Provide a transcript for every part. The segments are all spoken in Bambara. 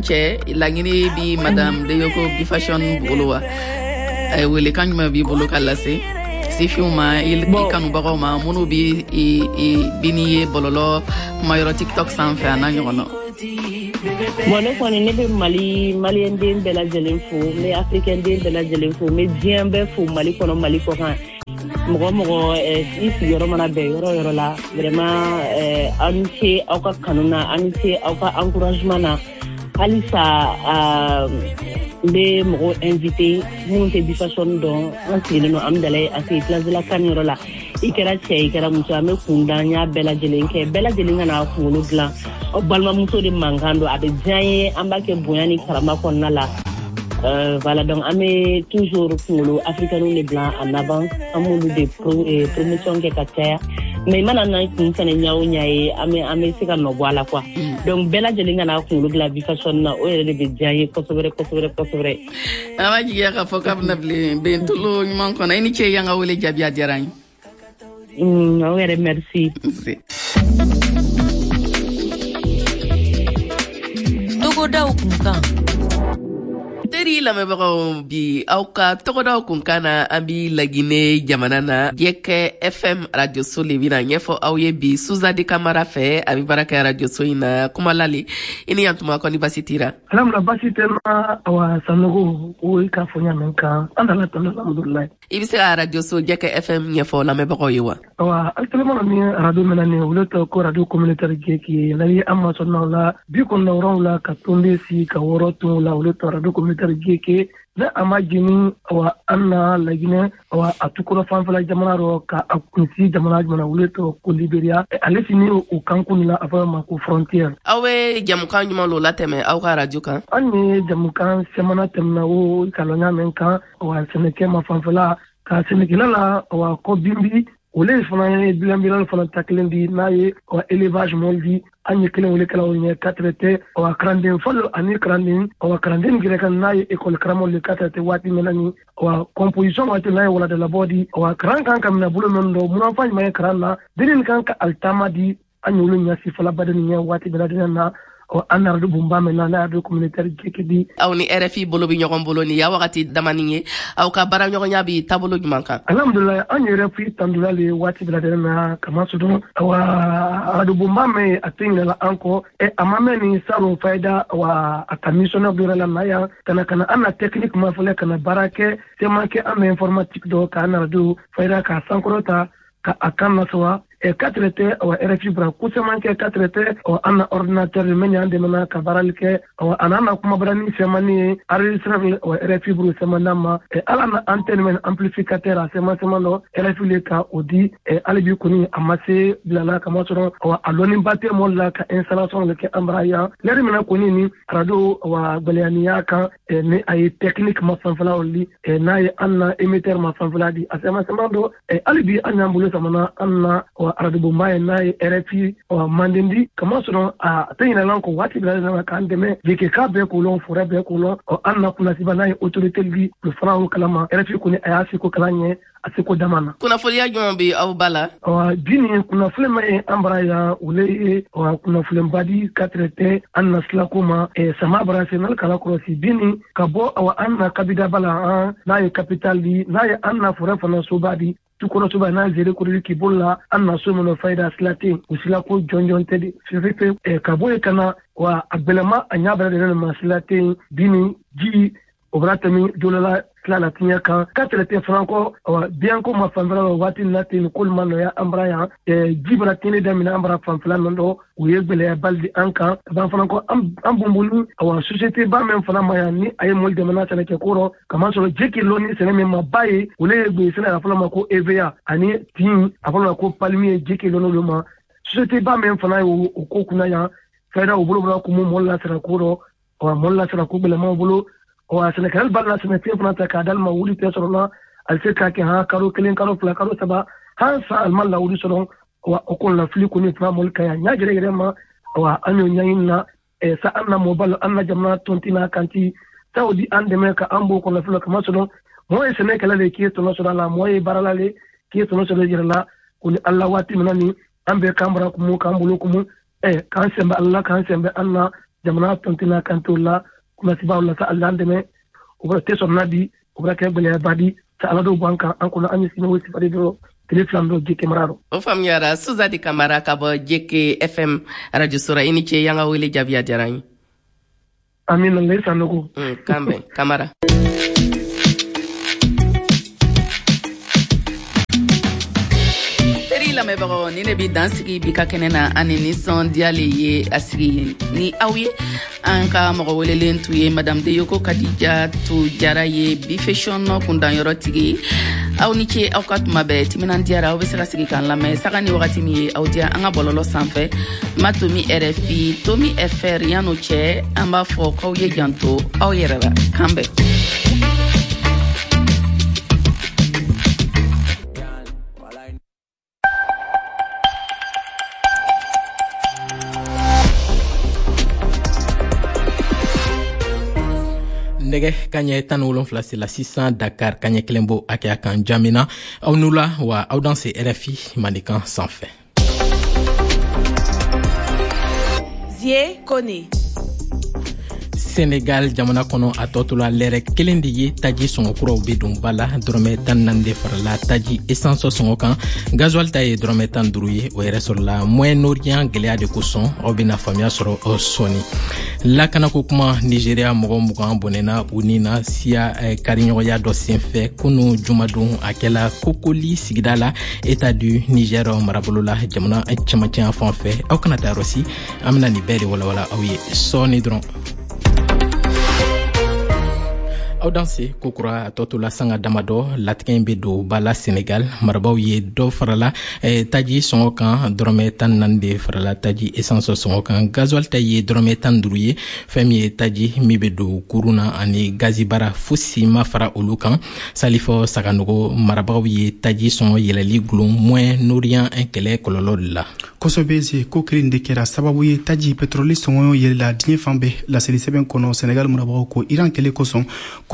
Cɛ laɲini bi madame Deyoko Bifashion bolo wa, welekan jumɛn b'i bolo ka lase sifinw ma, i kanubagaw ma, minnu bi bi n'i ye bɔlɔlɔ kumayɔrɔ TikTok sanfɛ a n'a ɲɔgɔn na? Bon, ne kɔni, ne bɛ Mali, maliyɛn den bɛɛ lajɛlen fo, n bɛ africain den bɛɛ lajɛlen fo, n bɛ diɲɛ bɛɛ fo, Mali kɔnɔ, Mali kɔ kan, mɔgɔ mɔgɔ i sigiyɔrɔ mana bɛn yɔrɔ yɔrɔ la, vraiment aw ni ce aw ka kanu na, aw ni ce aw ka encouragement na. Halisa n bɛ mɔgɔw invité minnu tɛ Bifashion dɔn. An sigilen don Amidalayi, a sigi place de la CAN yɔrɔ la. I kɛra cɛ, i kɛra muso, an bɛ kundan y'a bɛɛ lajɛlen kɛ, bɛɛ lajɛlen ka n'a kunkolo dilan. Aw balimamuso de mankan don, a bɛ diya n ye, an b'a kɛ bonya ni karama kɔnɔna la. Voilà, donc an bɛ toujours kunkolo africains de bila en avant, an b'olu de promotion kɛ ka caya, mais i mana na kun fɛnɛ ɲa o ɲa ye, an bɛ se ka nɔ bɔ a la quoi. Donc bɛɛ lajɛlen ka n'a kunkolo dilan Bifashion na, o yɛrɛ de bɛ diya n ye kosɛbɛ kosɛbɛ kosɛbɛ. An b'a jigiya k'a fɔ k'a bɛna bilen bentolo ɲuman kɔnɔ. I ni ce, y'an ka wele jaabi, a diyara an ye. Aw yɛrɛ, merci. Nse. Togodaw kunkan. Teri lamɛnbagaw, bi aw ka tɔgɔdaw kunkan na, an bi Lagine jamana na. Jɛkɛ FM radioso le bɛna ɲɛfɔ aw ye bi Suzadi Kamara fɛ, a bɛ baara kɛ radioso in na. Kumalali, i ni yantuma, kɔni basi tira? Alhamdulillah, basi tɛ na. Awa Sanogo, o ye k'a fɔ ɲa min kan, an dala tanu, alhamdulillah. I bɛ se ka radioso Jɛkɛ FM ɲɛfɔ lamɛnbagaw ye wa? Awa, actuellement ni radio mɛna ni olu tɔ ko radio communautaire Jɛki n'a ye, an masɔnnaw la 97 ka tonde si ka wɔɔrɔ tun la, olu tɔ radio communautaire Jɛki ne a ma jini. Awa, an na Laginɛ, awa a tukɔrɔ fanfɛla jamana rɔ ka a kunsi jamana jumɛn, olu tɔ ko Liberiya, ale sini o kankun la, a fɔ ma ko frontière. Aw bɛ jamukan ɲuman lo latɛmɛ aw ka radio kan? An ye jamukan sɛmana tɛmɛna o kalɔnya min kan, awa sɛnɛkɛ ma fanfɛla ka sɛnɛkɛla la, awa kɔ binbi ole fana ye bilanbilan fana ta kelen di n'a ye, awa élevage mɔli di, an ye kelen wele kɛlaw ɲɛ ka tɛ, awa kalanden fɔlɔ ani kalanden, awa kalanden gɛrɛ kan n'a ye école karamɔgɔ le ka tɛ waati min na ni awa composition waati n'a ye waladalabɔ di, awa karan kan ka minɛ bolo min dɔ munafan ɲuman ye karan na denni kan ka alitama di, an y'olu ɲɛsi fɔlɔ baden ɲɛ waati bɛɛ lajɛlen na an na radio bonba min na n'a radio communautaire Jɛkɛ di. Aw ni RFI bolo bɛ ɲɔgɔn bolo nin ya wagati damani ye, aw ka baaraɲɔgɔnya bi taabolo jumɛn kan? Alhamdulilayi, an ye RFI tandula le waati bɛɛ lajɛlen na, kamasɔrɔ awa radio bonba min a tɛ ɲinɛla an kɔ. A ma mɛn ni salon fayida, awa a ka missionnaire dɔ yɛrɛ la na yan ka na an na technique ma fɔlɔ ka na baara kɛ caman kɛ an na informatique dɔ k'an na radio fayida k'a sankɔrɔta ka a kan nasawa ka tɛ. Awa RFI bara ko caman kɛ ka tɛ, awa an na ordinateur min y'an dɛmɛna ka baarali kɛ, awa a n'an na kumabarani sɛmani ye enregistreur, awa RFI buru sɛman d'an ma, ala na antenne min amplificateur a sɛman sɛman dɔ RFI le ka o di. Hali bi kɔni a ma se bilala, kamasɔrɔ awa a lɔnniba tɛ mɔli la ka installation le kɛ an bara yan lɛri min na kɔni ni radio, awa gwɛlɛyaniya kan ni a ye technique ma fanfɛla li, n'a ye an na émetteur ma fanfɛla di a sɛman sɛman dɔ. Hali bi an y'an bolo samana an na radio bonba ye n'a ye RFI Mandendi, kamasɔrɔ a tɛ ɲinɛlan kɔ waati bɛɛ lajɛlen na k'an dɛmɛ jeke k'a bɛɛ k'o lɔn, forêt bɛɛ k'o lɔn. An na kunnasiba n'a ye autorité di olu fana y'o kalama. RFI kɔni a y'a seko kalan ɲɛ a seko dama na. Kunnafoniya jumɛn bɛ aw ba la? Bi nin kunnafoni ma ye an bara yan, o le ye kunnafoniba di ka tɛ an na silako ma sama bara se n'ale kala kɔlɔsi bi nin ka bɔ awa an na kabidaba la, an n'a ye capital di n'a ye an na forêt fana soba di tukɔrɔsoba n'a zere kori k'i bolo la, an na so min fayida sila tɛ yen, o sila ko jɔnjɔn tɛ de fefe ka bɔ yen ka na wa a gbɛlɛma a ɲa bɛɛ lajɛlen ma sila tɛ yen bi ni ji o bɛna tɛmɛ dolola tila la tiɲɛ kan ka tɛrɛ tɛ fana kɔ. Awa biyanko ma fanfɛla la waati min na ten k'olu ma nɔgɔya an bara yan, ji bɛna tiɲɛni daminɛ an bara fanfɛla min dɔ, o ye gwɛlɛyaba di an kan ka ban fana kɔ an bonbonni. Awa société ba min fana ma yan ni a ye mɔli dɛmɛna sɛnɛkɛ ko rɔ, kamasɔrɔ ji k'i lɔ ni sɛnɛ min ma ba ye, o le ye gbe sɛnɛ a fɔlɔ ma ko EVA ani tin a fɔlɔ ma ko palmier, ji k'i lɔ n'olu ma. Société ba min fana ye o ko kunna yan fɛɛrɛ o bolo bɔra kumu mɔli la sɛnɛ ko rɔ, awa mɔli la sɛnɛ ko gwɛlɛmaw bolo. Wa sɛnɛkɛla b'a la sɛnɛfɛn fana ta k'a d'ale ma, wuli tɛ sɔrɔ la, a bɛ se k'a kɛ han kalo 1, kalo 2, kalo 3, han san alima lawuli sɔrɔ. Wa o kɔni lafili kɔni fana mɔli ka yan ɲa gɛrɛ gɛrɛ ma. Wa an y'o ɲɛɲini na sa an na mɔbali an na jamana tɔnti n'a kanti sa o di an dɛmɛ ka an b'o kɔnɔ fɔlɔ, kamasɔrɔ mɔgɔ ye sɛnɛkɛla le k'i ye tɔnɔ sɔrɔ a la, mɔgɔ ye baarala le k'i ye tɔnɔ sɔrɔ i yɛrɛ la. Ko ni ala waati min na ni an bɛɛ k'an bara kumu k'an bolo kumu k'an sɛnbɛ ala la k'an sɛnbɛ an na Jamana tɔntina kan t'o la kunnasibaw la sa ala dɛmɛ o bɛ tɛ sɔrɔ na bi o bɛ kɛ gɛlɛyaba di sa ala dɔw b'an kan an kɔnɔ an ye sini o sifari dɔrɔn tile 2 dɔ Jeke mara rɔ. O faamuyara. Suzadi Kamara ka bɔ Jeke FM arajoso ra, i ni ce y'an ka wele jaabi, a diyara n ye. Amina, ne Sanogo. Kan bɛn Kamara. Teri lamɛnbagaw, ni ne bi dan sigi bi ka kɛnɛ na, ani nisɔndiya le ye a sigi ni aw ye. An ka mɔgɔ welelen tun ye Madame Deyoko Kadija tu Jara ye, bi fashion kundanyɔrɔ tigi. Aw ni ce aw ka tuma bɛɛ timinandiyara. Aw bɛ se ka sigi k'an lamɛn saga ni wagati min ye aw diya an ka bɔlɔlɔ sanfɛ, ma tomi RFI tomi fr. Yan'o cɛ, an b'a fɔ k'aw ye janto aw yɛrɛ la. Kan bɛn. Nɛgɛ kaɲɛ 17 sela sisan Dakar, kaɲɛ 1 bo hakɛya kan Jamina. Aw nu la wa, aw dan se RFI Mandenkan sanfɛ. Zie Kone. Senegal jamana kɔnɔ, a tɔ tola lɛrɛ 1 de ye, taji sɔngɔ kuraw be don ba la. Dɔrɔmɛ 14 de farala taji essence sɔngɔ kan, gasoil ta ye dɔrɔmɛ 15 ye. O yɛrɛ sɔrɔla Moyen Orient gwɛlɛya de kosɔn. Aw bena faamuya sɔrɔ sɔɔni. Lakanako kuma, Nigeria mɔgɔ 20 bɔnɛna u ni na siya kariɲɔgɔnya dɔ senfɛ kunu jumadon. A kɛla Kokoli sigida la, État du Niger marabolo la, jamana cɛmancɛ fan fɛ. Aw kana taa yɔrɔ si, an bena nin bɛɛ de walawala aw ye sɔɔni dɔrɔn. Aw danse kokura. A tɔ tola sanga damadɔ, latigɛ in bɛ don ba la. Senegal marabaw ye dɔ farala taji sɔngɔ kan. Dɔrɔmɛ 14 de farala taji essence sɔngɔ kan, gasoil ta ye dɔrɔmɛ 15 ye. Fɛn min ye taji min bɛ don kurun na ani gazibara, fosi ma fara olu kan. Salifɔ Saganogo, marabagaw ye taji sɔngɔ yɛlɛli gulon Moyen Orient kɛlɛ kɔlɔlɔ de la. Kosɛbɛ ze, ko kelen de kɛra sababu ye taji pétrole sɔngɔ yɛlɛla diɲɛ fan bɛɛ. Laseli sɛbɛn kɔnɔ, Senegal marabagaw ko Iran kɛlɛ kosɔn,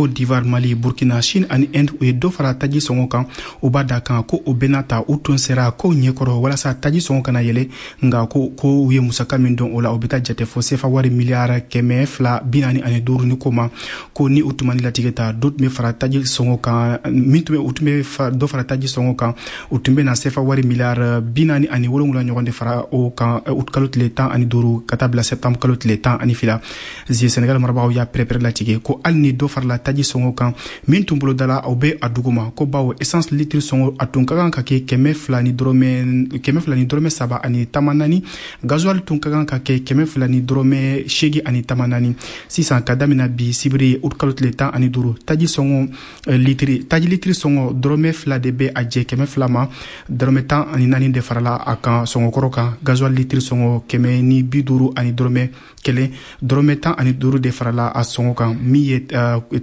Côte d'Ivoire, Mali, Burkina, Chine ani Inde, u ye dɔ fara taji sɔngɔ kan. U b'a da kan ko o bɛna ta u tun sera kow ɲɛkɔrɔ walasa taji sɔngɔ kana yɛlɛ, nka ko u ye musaka min don o la, o bɛ taa jate fɔ sefa wari miliyari 245 ni ko ma. Ko ni u tun ma ni latigɛ ta, dɔ tun bɛ fara taji sɔngɔ kan min tun bɛ u tun bɛ dɔ fara taji sɔngɔ kan, u tun bɛ na sefa wari miliyari 47 ɲɔgɔn de fara o kan août kalo tile 15 ka taa bila septembre kalo tile 12. Zie, Senegal marabagaw y'a pɛrɛpɛrɛ latigɛ ko hali ni dɔ farala taji sɔngɔ kan min tun bolodala, o bɛ a duguma, ko bawo essence litre sɔngɔ a tun ka kan ka kɛ 200 ni dɔrɔmɛ 203 ni tama 4, gasoil tun ka kan ka kɛ 200 ni dɔrɔmɛ 8 ani tama 4. Sisan, ka damina bi sibiri août kalo tile 15, taji sɔngɔ litiri taji litiri sɔngɔ dɔrɔmɛ 2 de bɛ a jɛ 200 ma, dɔrɔmɛ 14 de farala a kan sɔngɔkɔrɔ kan. Gasoil litiri sɔngɔ 150 ni dɔrɔmɛ 1, dɔrɔmɛ 15 de farala a sɔngɔ kan. Min ye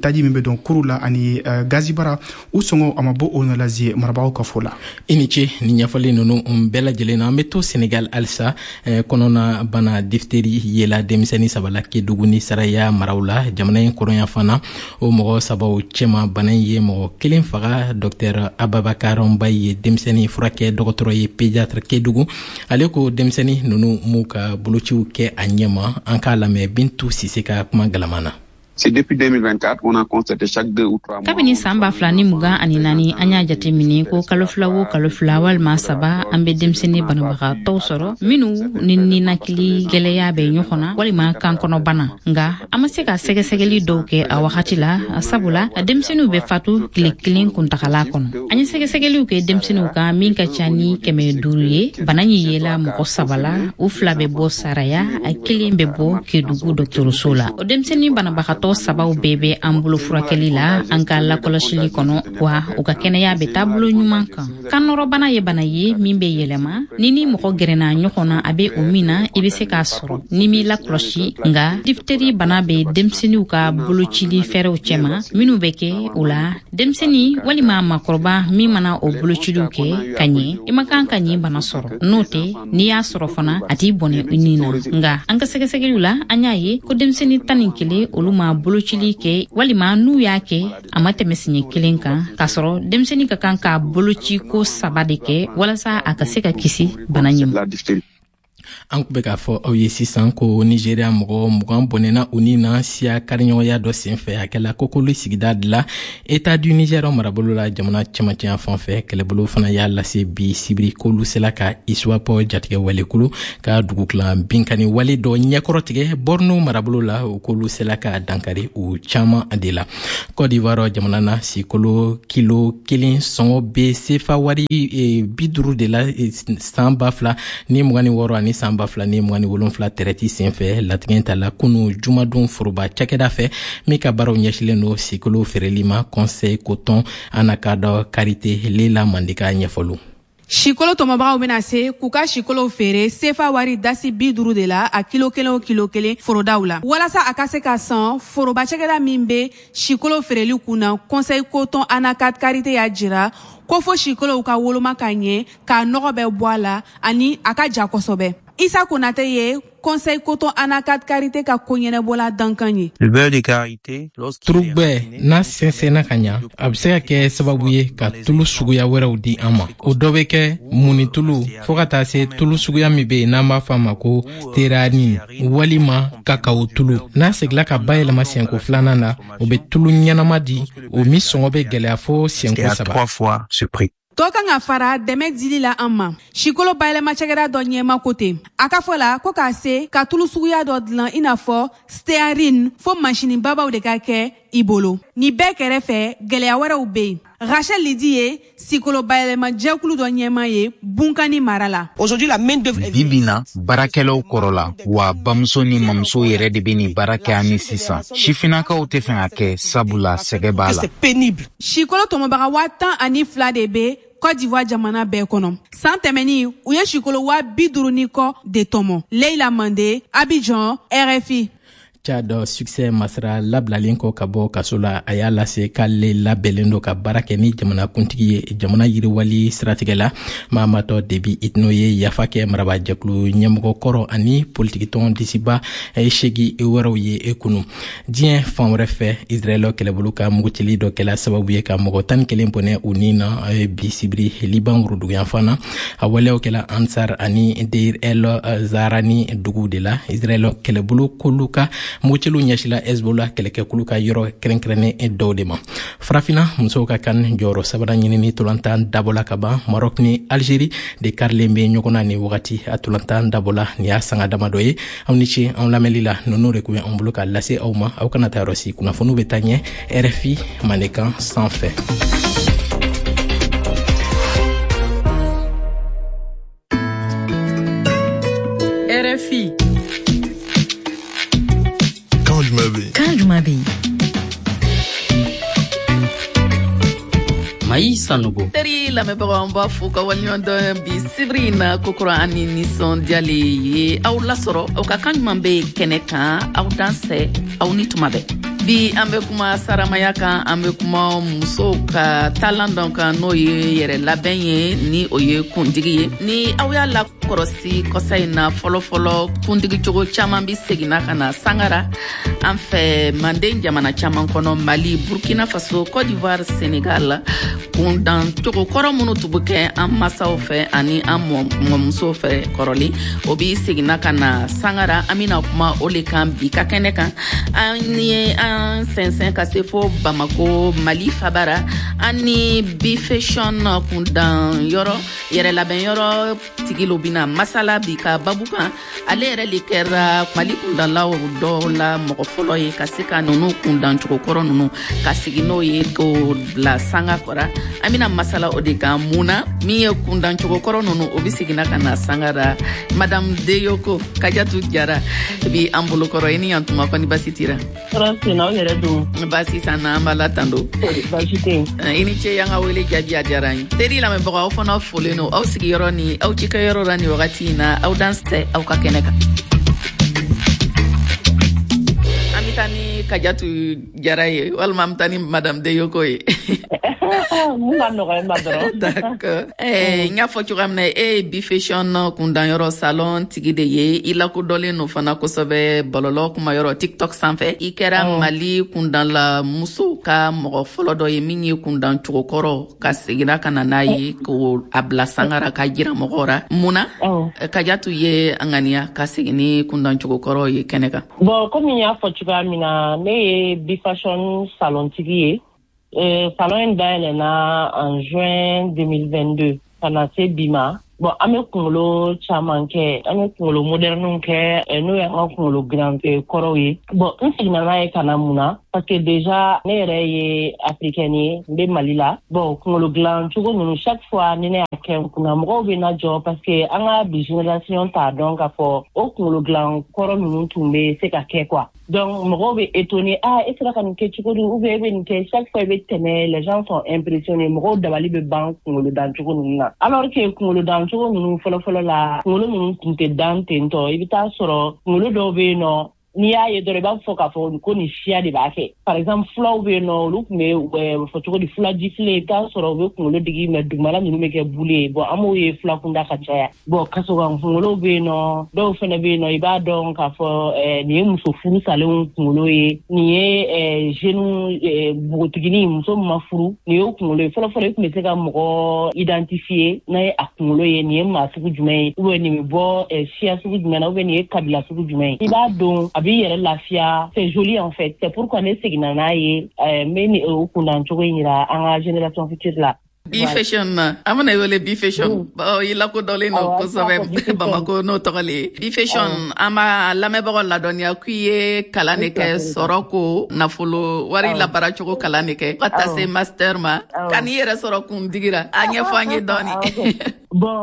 taji min bɛ don kuru la ani gazibara, u sɔngɔ a ma bɔ o nɔ la, zie marabagaw ka fɔ la. I ni ce ni ɲɛfɔli ninnu bɛɛ lajɛlen na. An bɛ to Senegal halisa kɔnɔna bana diphtérie yela denmisɛnnin saba la Kedugu ni Saraya maraw la, jamana in kɔrɔnya fana. O mɔgɔ sabaw cɛma, bana in ye mɔgɔ kelen faga. Dɔktɛr Ababakar Mbaye ye denmisɛnnin furakɛ dɔgɔtɔrɔ ye, pédiatre Kedugu. Ale ko denmisɛnnin ninnu m'u ka bolociw kɛ a ɲɛma. An k'a lamɛn Bintu Sise ka kuma galama na. C'est depuis 2024 qu'on a constaté chaque 2 ou 3 mois. Kabini saan 2024, an y'a jate minɛ ko kalo 2 o kalo 2 walima 3, an bɛ denmisɛnnin banabagatɔw sɔrɔ minnu ni ninakili gwɛlɛya bɛ ɲɔgɔn na walima kankɔnɔbana. Nga an ma se ka sɛgɛsɛgɛli dɔw kɛ a wagati la, sabula denmisɛnninw bɛ fatu tile kelen kuntagala kɔnɔ. An ye sɛgɛsɛgɛliw kɛ denmisɛnninw kan min ka ca ni 500 ye. Bana ɲi yela mɔgɔ saba la, u fila bɛ bɔ Saraya, a kelen bɛ bɔ Kedugu dɔgɔtɔrɔso la. O denmisɛnnin banabagatɔ sabaw bɛɛ bɛ an bolo furakɛli la an ka lakɔlɔsili kɔnɔ, wa u ka kɛnɛya bɛ taabolo ɲuman kan. Kannɔrɔbana ye bana ye min bɛ yɛlɛma ni ni mɔgɔ gɛrɛna ɲɔgɔn na, a bɛ o min na, i bɛ se k'a sɔrɔ ni m'i lakɔlɔsi. Nga diphtérie bana bɛ denmisɛnninw ka bolocili fɛɛrɛw cɛma minnu bɛ kɛ o la. Denmisɛnnin walima maakɔrɔba min mana o bolociliw kɛ ka ɲɛ, i man kan ka nin bana sɔrɔ. N'o tɛ, n'i y'a sɔrɔ fana, a t'i bɔnɛ i ni na. Nga an ka sɛgɛsɛgɛliw la, an y'a ye ko denmisɛnnin 11, olu ma bolocili kɛ walima n'u y'a kɛ, a ma tɛmɛ siɲɛ kelen kan, k'a sɔrɔ denmisɛnnin ka kan ka boloci ko saba de kɛ walasa a ka se ka kisi bana ɲɛ ma. An tun bɛ k'a fɔ aw ye sisan ko Nigeria mɔgɔ 20 bɔnɛna u ni na siya kariɲɔgɔnya dɔ senfɛ. A kɛla Kokoli sigida de la, État du Niger marabolo la, jamana cɛmancɛya fan fɛ. Kɛlɛbolo fana y'a lase bi sibiri k'olu sela ka ISWAP jatigɛ walekulu ka dugukila binkani wale dɔ ɲɛkɔrɔ tigɛ Borno marabolo la. U k'olu sela ka dankari u caman de la. Côte d'Ivoire jamana na, sikolo kilo kelen sɔngɔ bɛ sefa wari 50 de la san 2026 ani san 2027 tɛrɛti senfɛ. Latigɛ tala kunu jumadon foroba cakɛda fɛ min ka baaraw ɲɛsilen don sikolo feereli ma, Conseil Coton Anacarde Karité. Lela Mandika ɲɛfɔliw. Sikolo tɔmɔbagaw bɛna se k'u ka sikolow feere sefa wari dasi 50 de la a kilo kelen o kilo kelen forodaw la, walasa a ka se ka san. Foroba cakɛda min bɛ sikolo feereli kun na, Conseil Coton Anacarde Karité, y'a jira ko fo sikolow ka woloma ka ɲɛ, k'a nɔgɔ bɛ bɔ a la ani a ka ja kosɛbɛ. Isa Konate ye Conseil Coton Anacarde Karité ka koɲɛnɛbɔla dankan ye. Turubɛ n'a sɛnsɛnna ka ɲa, a bɛ se ka kɛ sababu ye ka tulu suguya wɛrɛw di an ma. O dɔ bɛ kɛ munitulu, fɔɔ ka taa se tulu suguya min bɛ yen n'an b'a fɔ a ma ko stéarine walima kakawo tulu. N'a segila ka bayɛlɛma siɲɛko filanan na, o bɛ tulu ɲɛnama di, o min sɔngɔ bɛ gɛlɛya fo siɲɛko saba. Dɔ kan ka fara dɛmɛ dili la an ma. Sikolo bayɛlɛma cakɛda dɔ ɲɛma ko ten. A ka fɔ la ko k'a se ka tulu suguya dɔ dilan i n'a fɔ stéarine, fo masini babaw de ka kɛ i bolo. Nin bɛɛ kɛrɛfɛ, gɛlɛya wɛrɛw bɛ yen. Rachel Lidi ye sikolo bayɛlɛma jɛkulu dɔ ɲɛma ye Bunkani mara la. Bi bi na, baarakɛlaw kɔrɔla wa, bamuso ni mamuso yɛrɛ de bɛ nin baara kɛ. Ani sisan, sifinnakaw tɛ fɛ ka kɛ, sabula sɛgɛ b'a la. Sikolo tɔmɔbaga 12,000 de bɛ Côte d'Ivoire jamana bɛɛ kɔnɔ. San tɛmɛnin, u ye sikolo 50,000 ni kɔ de tɔmɔ. Leila Mande, Abidjan, RFI. Tchad, Succès Masra labilalen kɔ ka bɔ kaso la, a y'a lase k'ale labɛnlen don ka baara kɛ ni jamanakuntigi ye jamana yiriwali siratigɛ la. Mahamat Déby Itno ye yafa kɛ marabajɛkulu ɲɛmɔgɔ kɔrɔ ani politikitɔn disiba seegi wɛrɛw ye kunu. Diɲɛ fan wɛrɛ fɛ, Israɛl kɛlɛbolo ka mugutili dɔ kɛla sababu ye ka mɔgɔ 11 bɔnɛ u ni na bi sibiri Liban woroduguyanfan na. A waleyaw kɛla Ansar ani Deir el Zarani duguw de la. Israɛl kɛlɛbolo k'olu ka mugutiliw ɲɛsila Hezbollah kɛlɛkɛkulu ka yɔrɔ kɛrɛnkɛrɛnnen dɔw de ma. Farafina musow ka CAN jɔyɔrɔ sabanan ɲinini tolantan dabɔla ka ban. Maroc ni Algérie de karilen bɛ ɲɔgɔn na nin wagati. A tolantan dabɔla nin y'a sanga damadɔ ye. Aw ni ce anw lamɛnli la. Ninnu de tun bɛ anw bolo k'a lase aw ma. Aw kana taa yɔrɔ si, kunnafoniw bɛ taa ɲɛ RFI Mandenkan sanfɛ. RFI. Kan jumɛn bɛ yen? Kan jumɛn bɛ yen? Mayi Sanogo. Teri lamɛnbagaw, an b'a fo ka waleɲuman dɔn. Bi sibiri in na, kokura an ni nisɔndiyale ye aw lasɔrɔ aw ka kan ɲuman bɛ kɛnɛ kan. Aw dansɛ, aw ni tuma bɛɛ. Bi, an bɛ kuma saramaya kan, an bɛ kuma musow ka taalan dɔ kan, n'o ye yɛrɛ labɛn ye, ni o ye kuntigi ye. Ni aw y'a lakɔrɔsi kɔsa in na, fɔlɔfɔlɔ kuntigi cogo caman bi seginna ka na sangara an fɛ Manden jamana caman kɔnɔ: Mali, Burkina Faso, Côte d'Ivoire, Sénégal. Kundan cogo kɔrɔ minnu tun bɛ kɛ an masaw fɛ ani an mɔmusow fɛ kɔrɔlen, o bi seginna ka na sangara. An bɛna kuma o le kan bi ka kɛnɛ kan. An ye an sɛnsɛn ka se fo Bamako, Mali fabara. An ni Bi Fashion kundan yɔrɔ, yɛrɛ labɛn yɔrɔ tigi lo bɛna masala bi ka babu kan. Ale yɛrɛ le kɛra Mali kundalaw dɔw la mɔgɔ fɔlɔ ye ka se ka ninnu kundan cogo kɔrɔ ninnu ka sigi n'o ye k'o bila sanga kɔrɔ. An bɛna masala o de kan, mun na min ye kundan cogo kɔrɔ ninnu, o bɛ seginna ka na sanga ra. Madame Deyoko Kajatu Jara bi an bolokɔrɔ. I ni yan tuma, kɔni basi tira? Tɔɔrɔ sen na, aw yɛrɛ dun? Basi t'an na, an b'a la tando. Basi tɛ yen. I ni ce, y'an ka wele jaabi, a diyara an ye. Teri lamɛnbagaw, aw fana folen don aw sigiyɔrɔ ni aw cikɛyɔrɔ la nin wagati in na. Aw dansɛ aw ka kɛnɛ kan. An bɛ taa ni Kajatu Jara ye walima an bɛ taa ni Madame Deyoko ye? Mun ka nɔgɔ ma dɔrɔn. D'accord. N y'a fɔ cogoya min na, e ye Bi Fashion kundanyɔrɔ salon tigi de ye. I lakodɔnlen don fana kosɛbɛ bɔlɔlɔ kumayɔrɔ TikTok sanfɛ. I kɛra Mali kundanla muso ka mɔgɔ fɔlɔ dɔ ye min ye kundan cogo kɔrɔ ka seginna ka na n'a ye k'o a bila sangara ka jira mɔgɔw ra. Mun na Kajatu ye a ŋaniya ka segin ni kundan cogo kɔrɔ ye kɛnɛ kan? Bon, komi n y'a fɔ cogoya min na, ne ye Bi Fashion salon tigi ye. Salon in dayɛlɛnna en juin 2022 ka na se bi ma. Bon, an bɛ kunkolo caman kɛ, an bɛ kunkolo moderniw kɛ, n'o y'an ka kunkolo dilan kɔrɔw ye. Bon, n seginna n'a ye ka na mun na? Parce que déjà ne yɛrɛ ye africaine ye, n bɛ Mali la. Bon, kunkolo dilan cogo ninnu, chaque fois ni ne y'a kɛ n kunna, mɔgɔw bɛ na jɔ parce que an ka bi génération t'a dɔn k'a fɔ o kunkolo dilan kɔrɔ ninnu tun bɛ se ka kɛ quoi. Donc mɔgɔw bɛ étonné: ah, e sera ka nin kɛ cogo di? Ou bien e bɛ nin kɛ? Chaque fois i bɛ tɛmɛ, les gens sont impressionnés, mɔgɔw dabali bɛ ban kunkolo dan cogo ninnu na, alors que kunkolo dan cogo ninnu, fɔlɔ-fɔlɔ la, kunkolo ninnu tun tɛ dan ten tɔ. I bɛ taa sɔrɔ kunkolo dɔw bɛ yen nɔ, n'i y'a ye dɔrɔn, i b'a fɔ k'a fɔ ko nin siya de b'a kɛ. Par exemple, fulaw bɛ yen nɔ, olu tun bɛ fɔ cogo di, fula jifile, i bɛ taa sɔrɔ u bɛ kunkolo digi, mais dugumala ninnu bɛ kɛ bule ye. Bon, an b'o ye fula kunda ka caya. Bon, kasokan kunkolo bɛ yen nɔ, dɔw fana bɛ yen nɔ, i b'a dɔn k'a fɔ nin ye muso furu salenw kunkolo ye, nin ye jeunes, npogotiginin, muso min ma furu, nin y'o kunkolo ye. Fɔlɔ fɔlɔ, i tun bɛ se ka mɔgɔ identifier n'a ye a kunkolo ye, nin ye maa sugu jumɛn ye, ou bien nin bɛ bɔ siya sugu jumɛn na, ou bien nin ye kabila sugu jumɛn ye. I b'a dɔn, a b'i yɛrɛ lafiya, c'est joli en fait. C'est pourquoi ne seginna n'a ye, n bɛ o kundan cogo in yira an ka génération future la. Bi Fashion na, an bɛna wele Bi Fashion, i lakodɔnlen don kosɛbɛ Bamako n'o tɔgɔ le ye Bi Fashion. An b'a lamɛnbagaw ladɔnniya k'i ye kalan de kɛ, sɔrɔ ko nafolo wari labaara cogo kalan de kɛ ka taa se master ma. Ka n'i yɛrɛ sɔrɔ kundigira, a ɲɛfɔ an ye dɔɔni. Bon,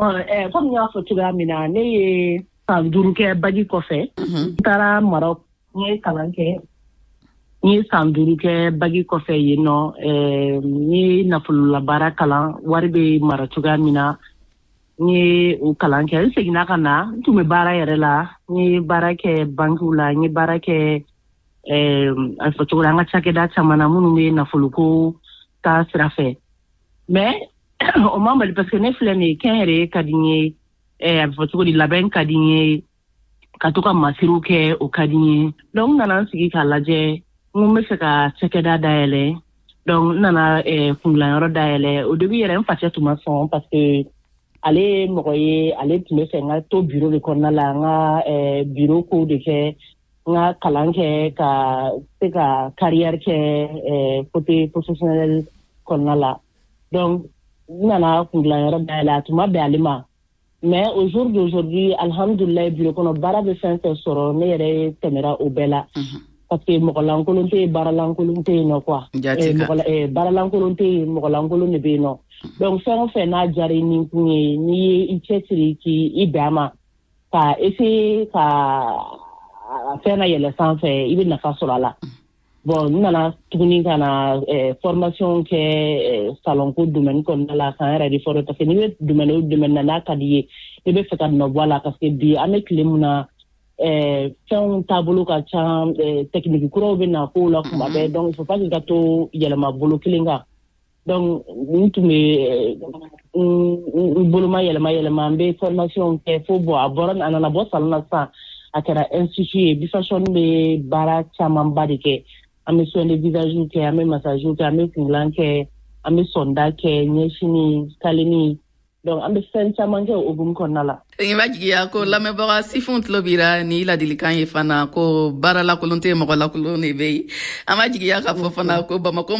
komi n y'a fɔ cogoya min na, ne ye san 5 kɛ bac kɔfɛ, n taara Maroc, n ye kalan kɛ. N ye san 5 kɛ bac kɔfɛ yen nɔ, n ye nafololabaara kalan, wari bɛ mara cogoya min na, n ye o kalan kɛ. N seginna ka na, n tun bɛ baara yɛrɛ la, n ye baara kɛ bankiw la, n ye baara kɛ, a fɔ cogo di, an ka cakɛda caman na minnu bɛ nafoloko ta sira fɛ. Mais o ma bali, parce que ne filɛ nin ye, kɛnyɛrɛye ka di n ye, a bɛ fɔ cogo di, labɛn ka di n ye, ka to ka masiriw kɛ, o ka di n ye. Donc n nana n sigi k'a lajɛ, n ko n bɛ fɛ ka cakɛda dayɛlɛ. Donc n nana kundilanyɔrɔ dayɛlɛ. Au début yɛrɛ, n facɛ tun ma sɔn, parce que ale ye mɔgɔ ye, ale tun bɛ fɛ n ka to bureau de kɔnɔna la, n ka bureau kow de kɛ, n ka kalan kɛ ka se ka carrière kɛ côté professionnel kɔnɔna la. Donc n nana kundilanyɔrɔ dayɛlɛ, a tun ma bɛn ale ma. Mais au jour d'aujourd'hui, alhamdulilayi, bureau kɔnɔ baara bɛ fɛn fɛn sɔrɔ, ne yɛrɛ tɛmɛra o bɛɛ la, parce que mɔgɔ lankolon tɛ yen, baara lankolon tɛ yen nɔ quoi. Baara lankolon tɛ yen, mɔgɔ lankolon de bɛ yen nɔ. Donc fɛn o fɛn n'a diyara i ni kun ye, n'i ye i cɛsiri k'i bɛn a ma, ka essayer ka fɛn na yɛlɛ sanfɛ, i bɛ nafa sɔrɔ a la. Bon, n nana tuguni ka na formation kɛ salon ko domaine kɔnɔna la, k'an yɛrɛ de former, parce que n'i bɛ domaine o domaine na, n'a ka di ye, i bɛ fɛ ka nɔ bɔ a la, parce que bi an bɛ tile min na, fɛnw taabolo ka ca, technique kuraw bɛ na kow la kuma bɛɛ. Donc il faut pas k'i ka to yɛlɛma bolo kelen kan. Donc n tun bɛ n boloma yɛlɛma yɛlɛma, n bɛ formation kɛ fo, bon, a bɔra, a nana bɔ salon na sisan, a kɛra institut ye. Bi Fashion bɛ baara camanba de kɛ. An bɛ soin de visage kɛ, an bɛ massage kɛ, an bɛ kungilan kɛ, an bɛ sɔnda kɛ, ɲɛsini kaleni. Donc an bɛ fɛn caman kɛ o hukumu kɔnɔna la. N b'a jigiya ko lamɛnbaga sifinw tulo bira ni ladilikan ye fana, ko baara lakolon tɛ yen, mɔgɔ lakolon de bɛ yen. An b'a jigiya k'a fɔ fana ko Bamako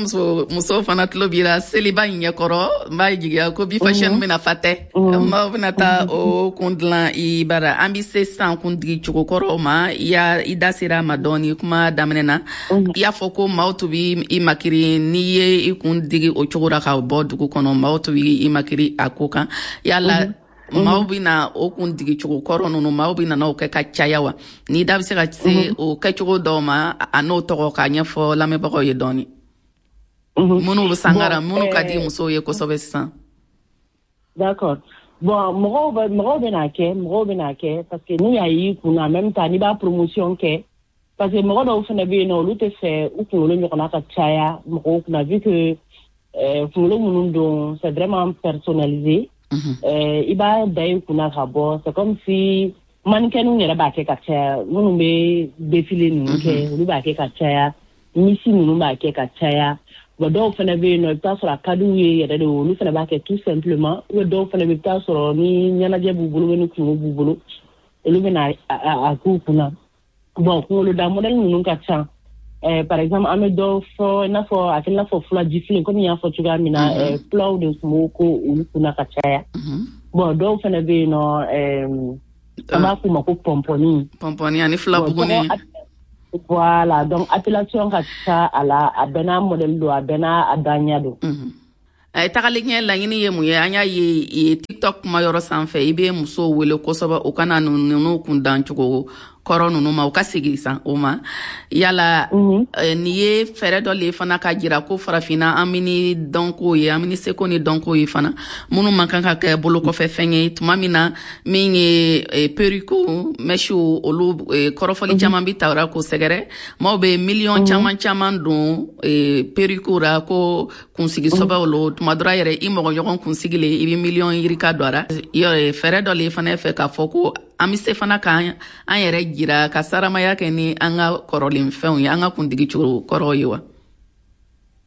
muso fana tulo bira seliba in ɲɛkɔrɔ. N b'a jigiya ko Bi Fashion bɛna fa tɛ, maaw bɛna taa o kun dilan i bara. An bɛ se sisan kundigi cogo kɔrɔw ma. I y'a i da sera a ma dɔɔni kuma daminɛ na. I y'a fɔ ko maaw tun bɛ i makiri n'i ye i kun digi o cogo la ka bɔ dugu kɔnɔ, maaw tun bɛ i makiri a ko kan. Yala maaw bɛna o kun digi cogo kɔrɔ ninnu, maaw bɛna n'o kɛ ka caya wa? N'i da bɛ se ka se o kɛcogo dɔw ma, a n'o tɔgɔ, k'a ɲɛfɔ lamɛnbagaw ye dɔɔni, minnu bɛ sangara, minnu ka di musow ye kosɛbɛ sisan. D'accord. Bon, mɔgɔw bɛ n'a kɛ, mɔgɔw bɛ n'a kɛ, parce que n'u y'a y'i kun na, en même temps n'i b'a promotion kɛ, parce que mɔgɔ dɔw fana bɛ yen nɔ, olu tɛ fɛ u kunkolo ɲɔgɔnna ka caya mɔgɔw kunna, vu que Kunkolo minnu don, c'est vraiment personnalisé. I b'a da i kunna ka bɔ, c'est comme si mannequinw yɛrɛ b'a kɛ ka caya. Minnu bɛ défilé ninnu kɛ, olu b'a kɛ ka caya, miss ninnu b'a kɛ ka caya. Bon, dɔw fana bɛ yen nɔ, i bɛ taa sɔrɔ a ka d'u ye yɛrɛ de, olu fana b'a kɛ tout simplement. Ou bien dɔw fana bɛ, i bɛ taa sɔrɔ ni ɲɛnajɛ b'u bolo, ni kungo b'u bolo, olu bɛ na a k'u kunna. Bon, kunkoloda modèle ninnu ka ca. Par exemple, an bɛ dɔ fɔ i n'a fɔ a kɛ i n'a fɔ fulajifilen, komi n y'a fɔ cogoya min na, fulaw de tun b'o ko olu kunna ka caya. Bon, dɔw fana bɛ yen nɔ, an b'a f'u ma ko pɔnpɔni. Pɔnpɔni ani filabuguni. Voilà, donc appellation ka ca a la, a bɛɛ n'a modèle don, a bɛɛ n'a daɲa don. Tagalen ɲɛ, laɲini ye mun ye? An y'a ye TikTok kuma yɔrɔ sanfɛ, i bɛ musow wele kosɛbɛ u kana ninnu kun dancogo kɔrɔ ninnu ma, u ka segin san o ma. Yala nin ye fɛɛrɛ dɔ le fana ka jira ko Farafinna, an bɛ ni dɔnko ye, an bɛ ni seko ni dɔnko ye fana, minnu man kan ka kɛ bolokɔfɛ fɛn ye, tuma min na min ye perruque, mèches, olu kɔrɔfɔli caman bi tawura k'o sɛgɛrɛ. Maaw bɛ miliyɔn caman caman don perruque ra ko kunsigi sɔbɛw lo. Tuma dɔ la yɛrɛ, i mɔgɔ ɲɔgɔn kunsigi le, i bɛ miliyɔn yirika don a ra. Fɛɛrɛ dɔ le fana fɛ k'a fɔ ko an bɛ se fana k'an an yɛrɛ jira ka saramaya kɛ ni an ka kɔrɔlen fɛnw ye, an ka kuntigi cogo kɔrɔw ye wa?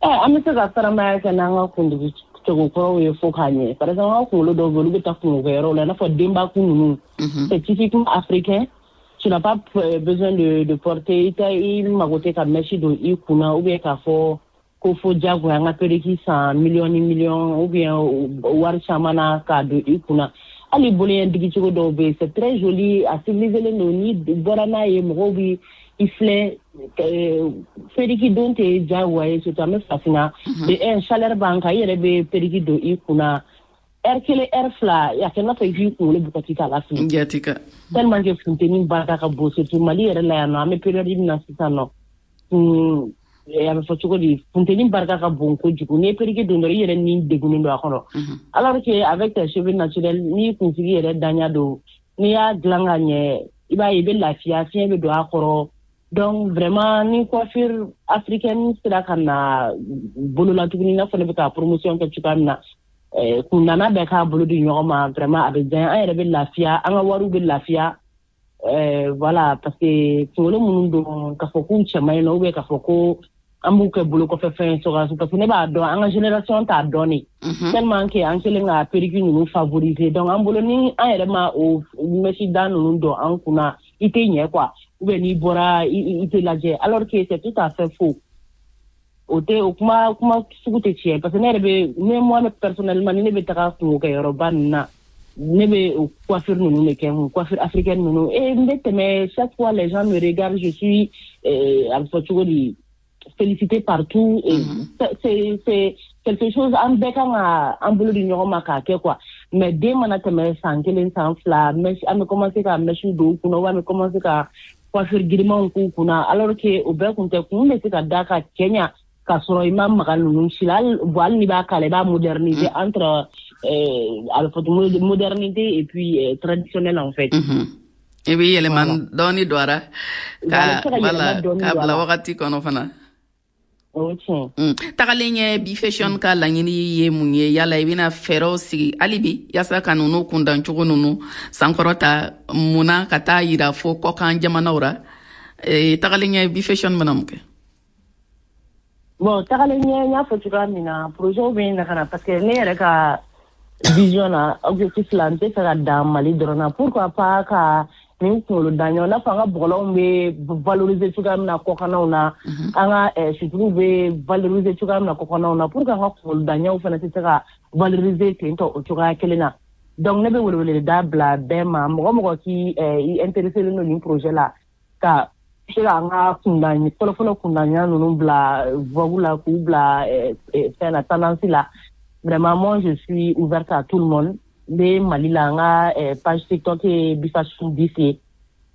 An bɛ se ka saramaya kɛ n'an ka kuntigi cogo kɔrɔw ye fo k'a ɲɛ. Par exemple, an ka kunkolo dɔw bɛ yen, olu bɛ taa kungokɛyɔrɔw la, i n'a fɔ denbakun ninnu, c'est typiquement africain. Tu n'as pas besoin de porter, i tɛ i mago tɛ ka mèche don i kunna, ou bien k'a fɔ ko fo diyagoya an ka perruque san miliyɔn ni miliyɔn, ou bien wari caman na k'a don i kunna. Hali boloɲɛ digicogo dɔw bɛ yen, c'est très joli, a civilisé don. N'i bɔra n'a ye, mɔgɔw bi i filɛ. Perruque don tɛ diyagoya ye, surtout an bɛ Farafinna de. Un, chaleur b'an kan, i yɛrɛ bɛ perruque don i kunna heure 1, heure 2, a kɛ n'a fɔ i k'i kunkolo bugɔti k'a lafili. Jati ka. Tellement que funteni barika ka bon, surtout Mali yɛrɛ la yan nɔ, an bɛ période min na sisan nɔ, a bɛ fɔ cogo di, funteni barika ka bon kojugu. N'i ye perruque don dɔrɔn, i yɛrɛ ni degunnen don a kɔnɔ, alors que avec tes cheveux naturels, n'i kunsigi yɛrɛ daɲa don, n'i y'a dilan ka ɲɛ, i b'a ye i bɛ lafiya, fiɲɛ bɛ don a kɔrɔ. Donc vraiment, ni coiffure africaine sera ka na bolo la tuguni, i n'a fɔ ne bɛ ka promotion kɛ cogoya min na, kundana bɛɛ k'a bolo di ɲɔgɔn ma, vraiment a bɛ diya, an yɛrɛ bɛ lafiya, an ka wariw bɛ lafiya. Voilà, parce que kunkolo minnu don, k'a fɔ k'u cɛ man ɲi nɔ, ou bien k'a fɔ ko an b'u kɛ bolo kɔfɛ fɛn ye, parce que ne b'a dɔn, an ka génération t'a dɔn de, tellement que an kɛlen ka perruque ninnu favoriser. Donc an bolo, ni an yɛrɛ ma o mèche da ninnu don an kunna, i tɛ ɲɛ quoi, ou bien n'i bɔra, i tɛ lajɛ, alors que c'est tout à fait faux. O tɛ, o kuma kuma sugu tɛ tiɲɛ, parce que ne yɛrɛ bɛ ne, moi personnellement, ni ne bɛ taga kungokɛyɔrɔba ninnu na, ne bɛ o coiffure ninnu de kɛ n kun, coiffure africaine ninnu, et n bɛ tɛmɛ, chaque fois les gens me regardent, je suis a bɛ fɔ cogo di, félicité partout. Et c'est quelque chose an bɛɛ kan ka an bolo di ɲɔgɔn ma k'a kɛ quoi. Mais den mana tɛmɛ san 1, san 2, mèche, an bɛ commencer ka mèche don u kunna, ou an bɛ commencer ka coiffure girimanw k'u kunna, alors que o bɛɛ kun tɛ. Kun bɛ se ka da ka cɛ ɲa k'a sɔrɔ i ma maga ninnu si la. Hali bon, hali n'i b'a k'a la, i b'a moderniser, entre a bɛ fɔ modernité et puis traditionnel en fait. I bɛ yɛlɛma dɔɔni don a ra ka wala k'a bila wagati kɔnɔ fana. O tiɲɛ. Tagalen ɲɛ, Bi Fashion ka laɲini ye mun ye? Yala i bɛna fɛɛrɛw sigi hali bi yaasa ka ninnu kundancogo ninnu sankɔrɔta mun na ka taa yira fo kɔkan jamanaw ra? Tagalen ɲɛ, Bi Fashion bɛna mun kɛ? Bon, tagalen ɲɛ, n y'a fɔ cogoya min na, projet bɛ na ka na, parce que ne yɛrɛ ka vision na, objectif la, n tɛ fɛ ka dan Mali dɔrɔn na. Pourquoi pas ka nin kunkolo da ɲɔgɔn, n'a fɔ an ka bɔgɔlanw bɛ valoriser cogoya min na kɔkannaw na, an ka suturuw bɛ valoriser cogoya min na kɔkannaw na, pour que an ka kunkolo daɲɛw fana tɛ se ka valoriser ten tɔ o cogoya kelen na. Donc ne bɛ weleweleda bila bɛɛ ma, mɔgɔ mɔgɔ k'i i intéressé don nin projet la, ka se ka an ka kundan fɔlɔfɔlɔ kundaɲa ninnu bila vogue la, k'u bila fɛn na, tendance la. Vraiment, moi je suis ouverte à tout le monde. N bɛ Mali la, n ka page TikTok ye Bifashion 10 ye,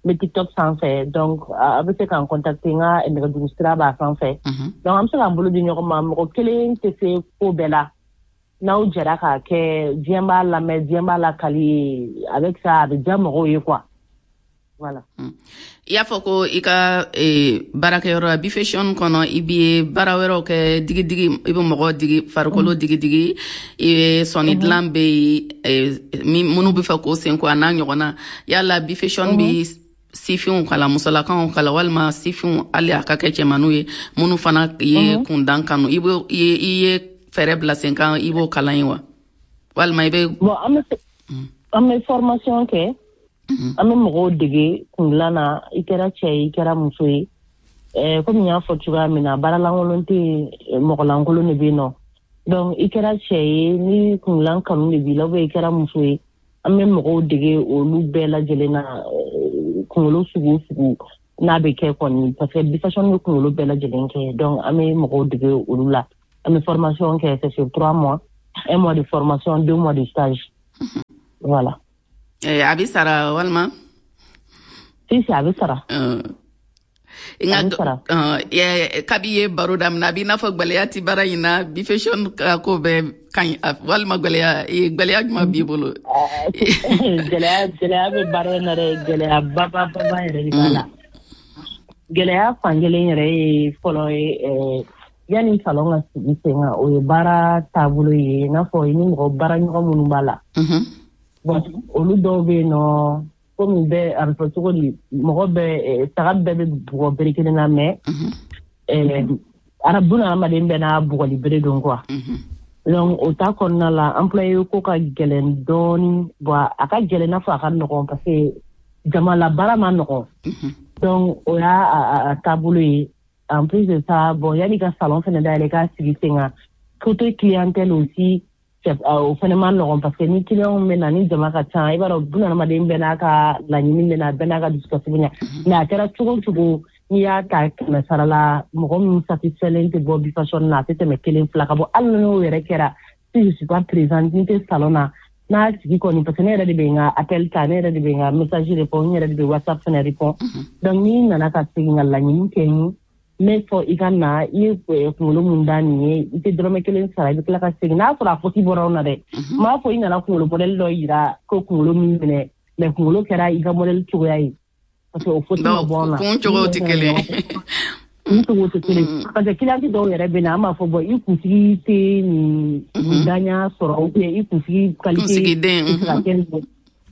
n bɛ TikTok sanfɛ. Donc a bɛ se k'an contacter, n ka nɛgɛjuru sira b'a sanfɛ. Donc an bɛ se k'an bolo di ɲɔgɔn ma. Mɔgɔ kelen tɛ se ko bɛɛ la. N'aw jɛra k'a kɛ, diɲɛ b'a lamɛn, diɲɛ b'a lakali, avec ça a bɛ diya mɔgɔw ye quoi. Voilà. I y'a fɔ ko i ka baarakɛyɔrɔ la, Bifashion kɔnɔ, i bɛ baara wɛrɛw kɛ, digidigi, i bɛ mɔgɔ digi, farikolo digidigi, i bɛ sɔnni dilan bɛ yen, minnu bɛ fɛ k'o sen ko a n'a ɲɔgɔnna. Yala Bifashion bɛ sifinw kalan, musolakaw kalan, walima sifinw, hali a ka kɛ cɛmaninw ye minnu fana ye kundan kanu, i ye fɛɛrɛ bila sen kan, i b'o kalan yen wa, walima i bɛ? Bon, an bɛ formation kɛ. An bɛ mɔgɔw dege kundilan na, i kɛra cɛ ye, i kɛra muso ye. Komi n y'a fɔ cogoya min na, baaralankolon tɛ yen, mɔgɔlankolon de bɛ yen nɔ. Donc i kɛra cɛ ye, ni kundilan kanu de b'i la, ou bien i kɛra muso ye, an bɛ mɔgɔw dege olu bɛɛ lajɛlen na, kunkolo sugu o sugu n'a bɛ kɛ kɔni, parce que Bifashion bɛ kunkolo bɛɛ lajɛlen kɛ. Donc an bɛ mɔgɔw dege olu la. An bɛ formation kɛ, c'est sur 3 mois, 1 mois de formation, 2 mois de stage. Voilà. A bɛ sara walima? Si, a bɛ sara. Nka kabi ye baro daminɛ, a b'i n'a fɔ gwɛlɛya ti baara in na. Bifashion ka ko bɛɛ ka ɲi, walima gwɛlɛya jumɛn b'i bolo? Gɛlɛya bɛ baara in na dɛ, gɛlɛya ba ba ba yɛrɛ de b'a la. Gɛlɛya fan kelen yɛrɛ ye fɔlɔ ye, yanni salon ka sigi sen kan, o ye baara taabolo ye, i n'a fɔ i ni mɔgɔ baara ɲɔgɔn minnu b'a la. Bon, olu dɔw bɛ yen nɔ, komi bɛɛ a bɛ fɔ cogo di, mɔgɔ bɛɛ, saga bɛɛ bɛ bugɔ bere kelen na, mais buna hadamaden bɛɛ n'a bugɔli bere don quoi. Donc o ta kɔnɔna la, employé ko ka gɛlɛn dɔɔni. Bon, a ka gɛlɛn n'a fɔ a ka nɔgɔn, parce que jama la baara ma nɔgɔn. Donc o y'a taabolo ye. En plus de ça, bon, yanni ka salon fɛnɛ dayɛlɛ k'a sigi sen kan, côté clientèle aussi, o fɛnɛ ma nɔgɔn, parce que ni client bɛ na, ni jama ka ca, i b'a dɔn, buna hadamaden bɛɛ n'a ka laɲini bɛ na, bɛɛ n'a ka dusukasi bɛ na. Mais a kɛra cogo o cogo, n'i y'a ta 100 sara la, mɔgɔ min satisfait tɛ bɔ Bifashion na, a tɛ tɛmɛ 1, 2 ka bɔ. Hali n'o yɛrɛ kɛra, si je suis pas présente, ni tɛ salon na, n'a tigi kɔni, parce que ne yɛrɛ de bɛ n ka appel ta, ne yɛrɛ de bɛ n ka message répond, n yɛrɛ de bɛ WhatsApp fɛnɛ répond. Donc n'i nana ka segin ka laɲini kɛ n ye, n bɛ fɔ i ka na, i ye kunkolo mun da nin ye, i tɛ dɔrɔmɛ 1 sara, i bɛ tila ka segin. N'a sɔrɔ a faute bɔra anw na dɛ, n b'a fɔ i nana kunkolo modèle dɔ yira ko kunkolo min minɛ, mais kunkolo kɛra i ka modèle cogoya ye, parce que o faute ma bɔ anw na. Kun cogo tɛ kelen. Kun cogo tɛ kelen, parce que client dɔw yɛrɛ bɛ na, an b'a fɔ bon, i kunsigi tɛ nin daɲa sɔrɔ, ou bien i kunsigi qualité tɛ se ka kɛ nin.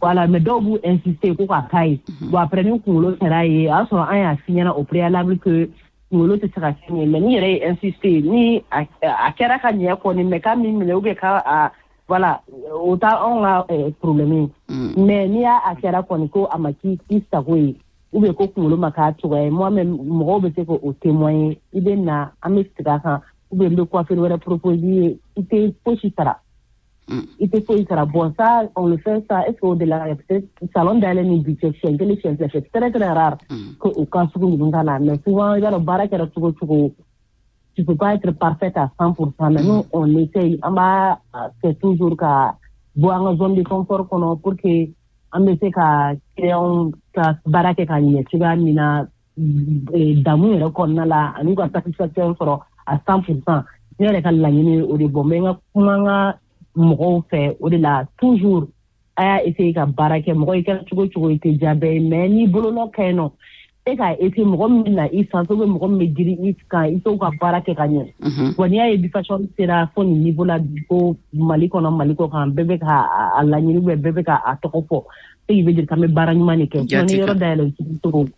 Voilà, mais dɔw b'u insister ko k'a k'a ye. Bon, après ni kunkolo kɛra ye, o y'a sɔrɔ an y'a f'i ɲɛna au préalable que kunkolo tɛ se ka kɛ nin ye, mais n'i yɛrɛ ye insister, ni a kɛra ka ɲɛ kɔni, mais k'a min minɛ, ou bien ka voilà, o t'a anw ka problème ye. Mais n'i y'a a kɛra kɔni ko a ma k'i sago ye, ou bien ko kunkolo ma k'a cogoya ye, moi même mɔgɔw bɛ se k'o témoigner, i bɛ na, an bɛ segin a kan, ou bien n bɛ coiffure wɛrɛ proposer ye, i tɛ fosi sara. I tɛ foyi sara. Bon, ça, on le fait, ça, est-ce que au delà, peut-être salon dayɛlɛ ni bi cɛ, siɲɛ 1, siɲɛ 2, c'est très très rare que o cas sugu ninnu ka na. Mais souvent, i b'a dɔn, baara kɛra cogo o cogo, tu peux pas être parfaite à 100%, mais nous, on essaye, an b'a kɛ toujours ka bɔ an ka zone de confort kɔnɔ pour que an bɛ se ka client ka baara kɛ ka ɲɛ cogoya min na, damu yɛrɛ kɔnɔna la, ani ka satisfaction sɔrɔ à 100%. Ne yɛrɛ ka laɲini ye o de. Bɔn, n bɛ n ka kuma n ka mɔgɔw fɛ o de la toujours, a y'a essayer ka baara kɛ. Mɔgɔ i kɛra cogo o cogo, i tɛ diya bɛɛ ye, mais n'i bolonɔ ka ɲi nɔ, e k'a essayer, mɔgɔ min bɛ na i sanfɛ, ou mɔgɔ min bɛ girin i kan, i t'o ka baara kɛ ka ɲɛ. Wa n'i y'a ye Bifashion sera fo nin niveau la bi, ko Mali kɔnɔ, Mali kɔ kan, bɛɛ bɛ ka a laɲini, ou bien bɛɛ bɛ ka a tɔgɔ fɔ, ce qui veut dire k'an bɛ baara ɲuman de kɛ. Sinon ni yɔrɔ dayɛlɛ cogo cogo,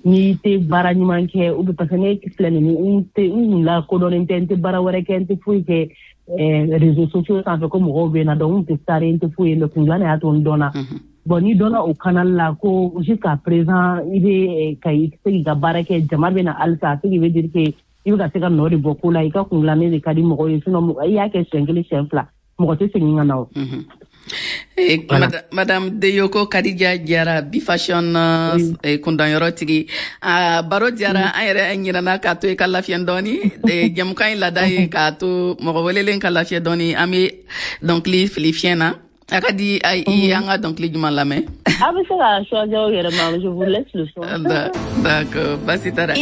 n'i tɛ baara ɲuman kɛ, ou bien, parce que ne filɛ nin ye, n tɛ n kun lakodɔnnen tɛ, n tɛ baara wɛrɛ kɛ, n tɛ foyi kɛ réseaux sociaux sanfɛ ko mɔgɔw bɛ na donc n tɛ star ye, n tɛ foyi ye, mais kundilan de y'a to n dɔnna. Bon, n'i dɔnna o canal la, ko jusqu'à présent i bɛ ka i se k'i ka baara kɛ, jama bɛ na halisa, ce qui veut dire que i bɛ ka se ka nɔ de bɔ ko la, i ka kundilannen de ka di mɔgɔw ye. Sinon i y'a kɛ siɲɛ 1, siɲɛ 2, mɔgɔ tɛ segin ka na o. Madame Deyoko Kadija Jara, Bifashion kundanyɔrɔ tigi, baro diyara an yɛrɛ ɲinana k'a to i ka lafiya dɔɔni. Jɛmukan in laada ye k'a to mɔgɔ welelen ka lafiya dɔɔni. An bɛ dɔnkili fili fiɲɛ na. A ka di i ye, an ka dɔnkili jumɛn lamɛn? A bɛ se ka choisir aw yɛrɛ ma, je vous laisse le choix. D'accord, basi t'a la.